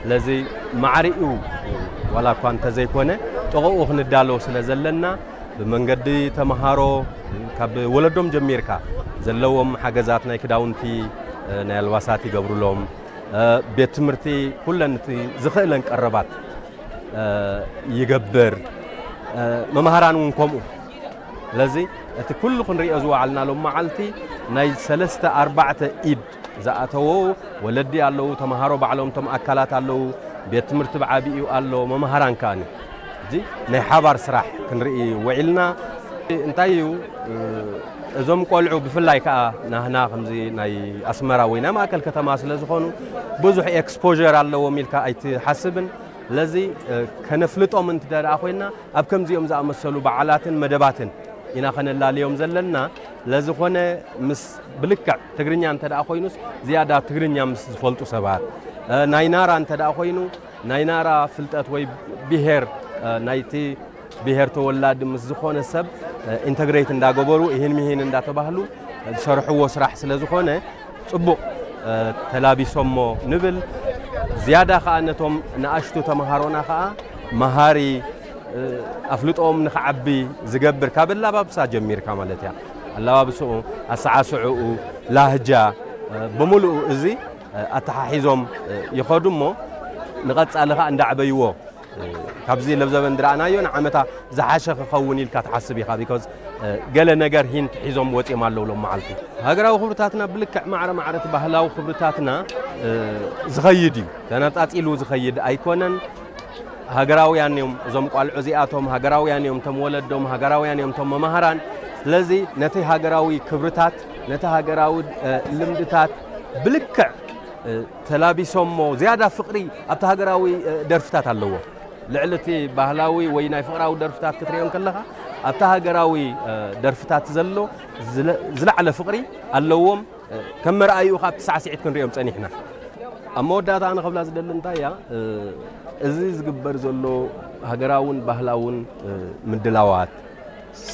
ስለዚ ማዕሪኡ ዋላ እኳ እንተዘይኮነ ጥቕኡ ክንዳሎ ስለ ዘለና ብመንገዲ ተምሃሮ ካብ ወለዶም ጀሚርካ ዘለዎም ሓገዛት ናይ ክዳውንቲ፣ ናይ ኣልባሳት ይገብሩሎም። ቤት ትምህርቲ ኩለን እቲ ዝኽእለን ቀረባት ይገብር። መምሃራን እውን ከምኡ። ስለዚ እቲ ኩሉ ክንሪኦ ዝወዓልና ሎም መዓልቲ ናይ ሰለስተ ኣርባዕተ ኢድ ዝኣተዎ ወለዲ ኣለዉ፣ ተምሃሮ ባዕሎም እቶም ኣካላት ኣለዉ፣ ቤት ትምህርቲ ብዓቢኡ ኣሎ፣ መምሃራን ከኣኒ። እዚ ናይ ሓባር ስራሕ ክንርኢ ውዒልና። እንታይ እዩ፣ እዞም ቆልዑ ብፍላይ ከኣ ናህና ከምዚ ናይ ኣስመራ ወይ ናይ ማእከል ከተማ ስለ ዝኾኑ ብዙሕ ኤክስፖዠር ኣለዎም ኢልካ ኣይትሓስብን። ስለዚ ከነፍልጦም እንተ ደኣ ኮይና ኣብ ከምዚኦም ዝኣመሰሉ በዓላትን መደባትን ኢና ከነላልዮም ዘለና። ለዝኾነ ምስ ብልክዕ ትግርኛ እንተ ደኣ ኮይኑስ ዝያዳ ትግርኛ ምስ ዝፈልጡ ሰባት፣ ናይ ናራ እንተ ደኣ ኮይኑ ናይ ናራ ፍልጠት ወይ ብሄር ናይቲ ብሄር ተወላዲ ምስ ዝኾነ ሰብ ኢንተግሬት እንዳገበሩ ይህን ምሂን እንዳተባህሉ ዝሰርሕዎ ስራሕ ስለ ዝኾነ ጽቡቕ ተላቢሶሞ ንብል። ዝያዳ ኸኣ ነቶም ንኣሽቱ ተምሃሮና ኸኣ መሃሪ፣ ኣፍልጦኦም ንኽዓቢ ዝገብር ካብ ኣላባብሳ ጀሚርካ ማለት እያ። ኣላባብስኡ፣ ኣሰዓስዕኡ፣ ላህጃ ብምሉኡ እዚ ኣተሓሒዞም ይኸዱ እሞ ንቐጻሊ ኸኣ እንዳዕበይዎ ካብዚ ለብዘበን ዝረኣናዮ ንዓመታ ዝሓሸ ክኸውን ኢልካ ትሓስብ ኢኻ። ቢኮዝ ገለ ነገር ሂንት ሒዞም ወፂኦም ኣለዉ ሎም መዓልቲ። ሃገራዊ ክብርታትና ብልክዕ ማዕረ ማዕረ እቲ ባህላዊ ክብርታትና ዝኸይድ እዩ። ተነጣፂሉ ዝኸይድ ኣይኮነን። ሃገራውያን እዮም እዞም ቋልዑ እዚኣቶም፣ ሃገራውያን እዮም እቶም ወለዶም፣ ሃገራውያን እዮም እቶም መማህራን። ስለዚ ነቲ ሃገራዊ ክብርታት፣ ነቲ ሃገራዊ ልምድታት ብልክዕ ተላቢሶሞ ዝያዳ ፍቕሪ ኣብቲ ሃገራዊ ደርፍታት ኣለዎ። ልዕሊ እቲ ባህላዊ ወይ ናይ ፍቕራዊ ደርፍታት ክትሪኦ እንከለኻ ኣብቲ ሃገራዊ ደርፍታት ዘሎ ዝለ- ዝለዓለ ፍቕሪ ኣለዎም። ከም መርኣይኡ ካብ ሳዕስዒት ክንሪኦም ጸኒሕና። ኣብ መወዳእታ ኣነ ክብላ ዝደሊ እንታይ እያ፣ እዚ ዝግበር ዘሎ ሃገራውን ባህላውን ምድላዋት፣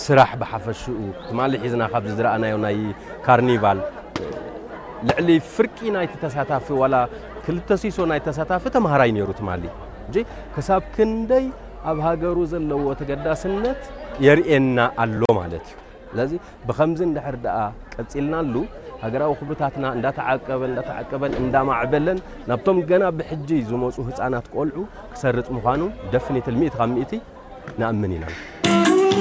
ስራሕ ብሓፈሽኡ ትማሊ ሒዝና ካብ ዝረኣናዮ ናይ ካርኒቫል ልዕሊ ፍርቂ ናይቲ ተሳታፊ ዋላ ክልተ ሲሶ ናይ ተሳታፊ ተምሃራይ ነይሩ ትማሊ። እንጂ ክሳብ ክንደይ ኣብ ሃገሩ ዘለዎ ተገዳስነት የርእየና ኣሎ ማለት እዩ። ስለዚ ብኸምዚ እንድሕር ደኣ ቀጺልናሉ ሃገራዊ ክብርታትና እንዳተዓቀበን እንዳተዓቀበን እንዳማዕበለን ናብቶም ገና ብሕጂ ዝመጹ ህጻናት ቆልዑ ክሰርጽ ምዃኑ ደፍኒትል ሚእቲ ካብ ሚእቲ ንኣምን ኢና።